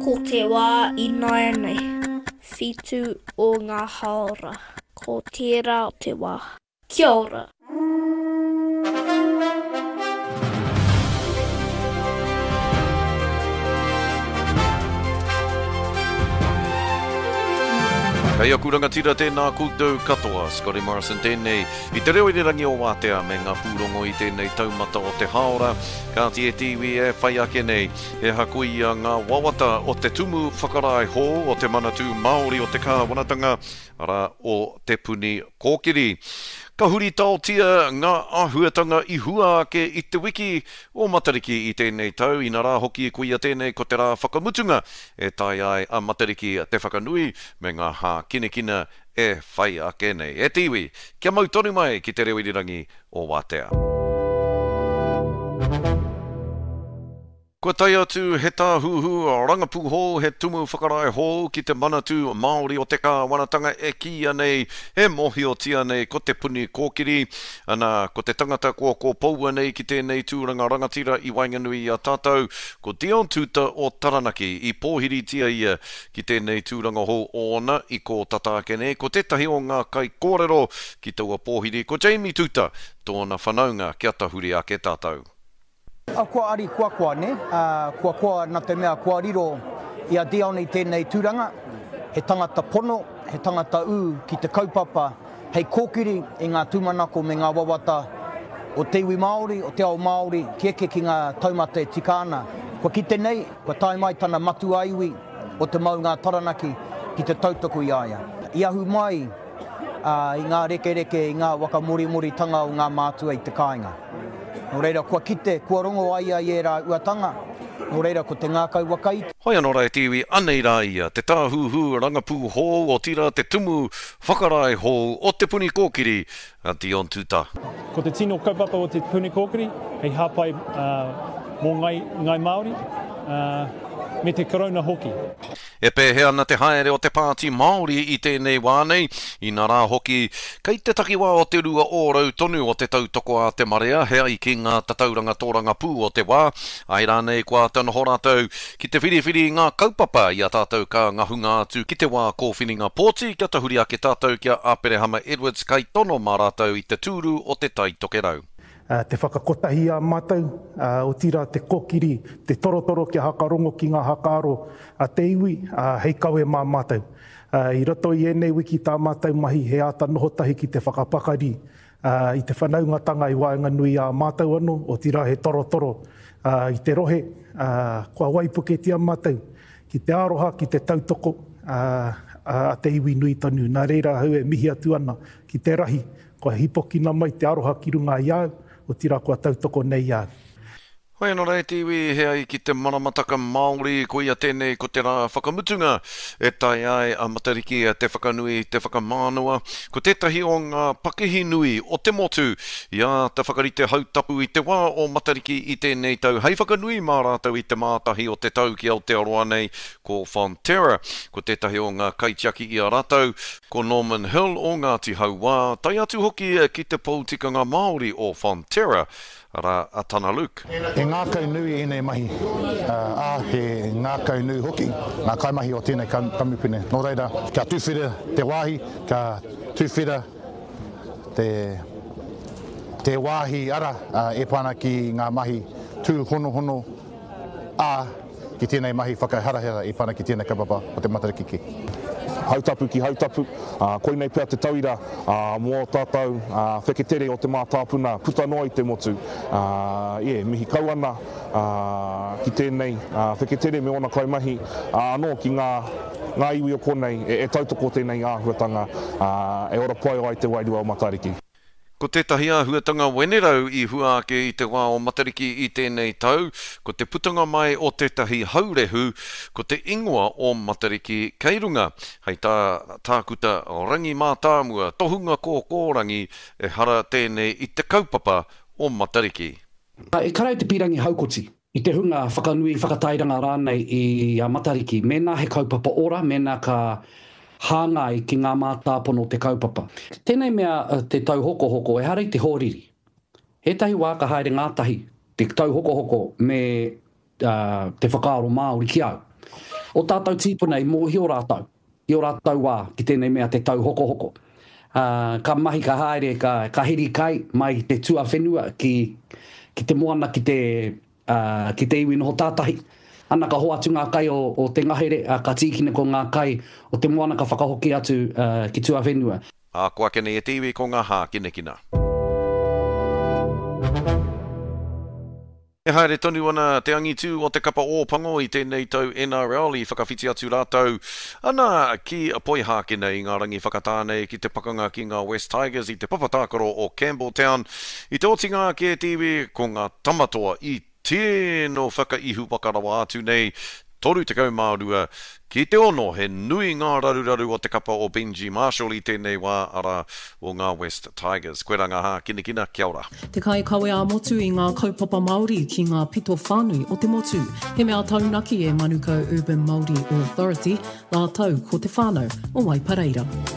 Ko te wā ināianei, 7 o ngā hāora. Ko tērā te wā. Kia ora. Kei aku rangatira tēnā koutou katoa, Scotty Morrison tēnei, i te reo irirangi o Wātea me ngā pūrongo i tēnei taumata o te hāora, kāti e te iwi e whai ake nei, he aha koia ngā wawata o te tumu whakarae hou o te Manatū Māori o te Kāwanatanga, arā, o Te Puni Kōkiri. Ka huritaotia ngā āhuatanga i hua ake i te wiki o Matariki i tēnei tau, inarā hoki koia tēnei ko te rā whakamutunga e taea ai a Matariki te whakanui me ngā hākinakina e whai ake nei. E te iwi, kia mau tonu mai ki te reo irirangi o Wātea. Kua tae atu he tāhuhu rangapū hou, he tumu whakarae hou ki te Manatū Māori o te Kāwanatanga e kīia nei, e mōhiotia nei ko Te Puni Kōkiri. Ana, ko te tangata kua kōpoua nei ki tēnei tūranga rangatira i waenganui i a tātou, ko Dion Tuuta o Taranaki. I pōhiritia ia ki tēnei tūranga hou ōna i kō tata ake nei. Ko tētahi o ngā kaikōrero ki taua pōhiri ko Jamie Tuuta, tōna whanaunga kia tahuri ake tātou. Kua ari kua koa, nē? Kua koa nā te mea kua riro i a Dion i tēnei tūranga, he tangata pono, he tangata ū ki te kaupapa hei kōkiri i ngā tūmanako me ngā wawata o te iwi Māori, o te ao Māori, ki eke ki ngā taumata e tika ana. Kua kite nei, kua tae mai tana matua iwi o Te Maunga a Taranaki ki te tautoko i a ia. I ahu mai i ngā rekereke, i ngā wakamorimori-tanga o ngā mātua i te kāinga. Nō reira, kua kite, kua rongo a ia i ērā uatanga, nō reira, ko te ngākau wakaiti. Hoi anō rā e te iwi, anei rā ia, te tāhuhu rangapū hou, otirā te tumu whakarae hou o Te Puni Kōkiri, a Dion Tuta. Ko te tino kaupapa o Te Puni Kōkiri hei hāpai mō Ngāi Māori me te Karauna hoki. E pēhea ana te haere o te Pāti Māori i tēnei wā nei, inarā hoki, kei te takiwā o te 2% tonu o te tautoko a te marea he ai ki ngā tatauranga tōrangapū o te wā, āe rānei kua āta noho rātou ki te whiriwhiri i ngā kaupapa i a tātou ka ngahunga atu ki te wā kōwhiringa pōti kia tahuri ake tātou ki a Aperehama Edwards kaitono mā rātou i te tūru o Te Tai Tokerau. Te whakakotahi i a mātou, otirā te kōkiri, te torotoro kia hakarongo ki ngā hakaaro a te iwi, hei kawe mā mātou. I roto i ēnei wiki tā mātou mahi he āta noho tahi ki te whakapakari i te whanaungatanga i waenganui i a mātou anō, otirā he torotoro i te rohe, kua waipuketia mātou ki te aroha, ki te tautoko a te iwi nui tonu. Nā reira ahau e mihi atu ana ki te rahi Kua hīpokina mai te aroha ki runga i a au, otirā kua tautoko nei i a au. Hoi anō rā e te iwi, he ai ki te maramataka Māori, koia tēnei ko te rā whakamutunga e tae ai a Matariki te whakanui, te whakamānawa. Ko tētahi o ngā pakihi nui o te motu i āta whakarite hautapu i te wā o Matariki i tēnei tau hei whakanui mā rātou i te mātahi o te tau ki Aotearoa nei, ko Fonterra. Ko tētahi o ngā kaitiaki i a rātou, Ko Norman Hill o Ngāti Hauā, tae atu hoki ki te pou tikanga Māori o Fonterra, arā, a Tana Luke. He ngākau nui ēnei mahi, ā, he ngākau nui hoki ngā kaimahi o tēnei kamupene. Nō reira, kia tuwhera te wāhi, kia tuwhera te, te wāhi ara e pā ana ki ngā mahi tūhonohono, ā, ki tēnei mahi whakaharahara e whana ki tēnei kaupapa o te Matariki ki. Hautapu ki Hautapu, ā, koinei pea te tauira mō ō tātou wheketere o te mātāpuna puta noa i te motu. Ā, yeah, mihi kau ana ki tēnei wheketere me ōna kaimahi, ā, anō ki ngā, ngā iwi o konei e tautoko tēnei āhuatanga, ā, e ora pai ai te wairua o Matariki. Ko tētahi āhuatanga wenerau i hua ake i te wā o Matariki i tēnei tau, ko te putanga mai o tētahi haurehu, ko te ingoa o Matariki kei runga. Hei tā Tākuta Rangi Mātāmua, tohunga kōkōrangi, ehara tēnei i te kaupapa o Matariki. E kara i te pīrangi haukoti, i te hunga whakanui, whakatairanga rānei i a Matariki, mēnā he kaupapa ora, mēnā ka hāngai ki ngā mātāpono o te kaupapa. Tēnei mea te tauhokohoko, ehara i te hoariri. Ētahi wā ka haere ngātahi te tauhokohoko me te whakaaro Māori ki au. O tātou tīpuna i mōhio rātou i ō rātou wā ki tēnei mea te tauhokohoko. Ā, ka mahi, ka haere, ka, ka heri kai mai i te tuawhenua ki, ki te moana, ki te, ā, ki te iwi noho tātahi. Ana ka hoatu ngā kai o, o te ngahere, ā, ka tīkina ko ngā kai o te moana ka whakahoki atu, ā, ki tuawhenua. Ā, ko ake nei e te iwi ko ngā hākinakina. E haere tonu ana te angitū o te kapa Ōpango i tēnei tau NRL i whakawhiti atu rātou ana ki Poihākena i ngā rangi whakatā nei ki te pakanga ki ngā West Tigers i te papa tākaro o Campbelltown. I te otinga ake e te iwi ko ngā Tamatoa i tino whakaihuwaka rawa atu nei 32 ki te ono, he nui ngā raruraru o te kapa o Benji Marshall i tēnei wā, arā, o ngā West Tigers. Koirā ngā hākinakina, kia ora. Te kaikawe ā-motu i ngā kaupapa Māori ki ngā pito whānui o te motu. He mea taunaki e Manukau Urban Māori Authority rātou ko te whānau o Waipareira.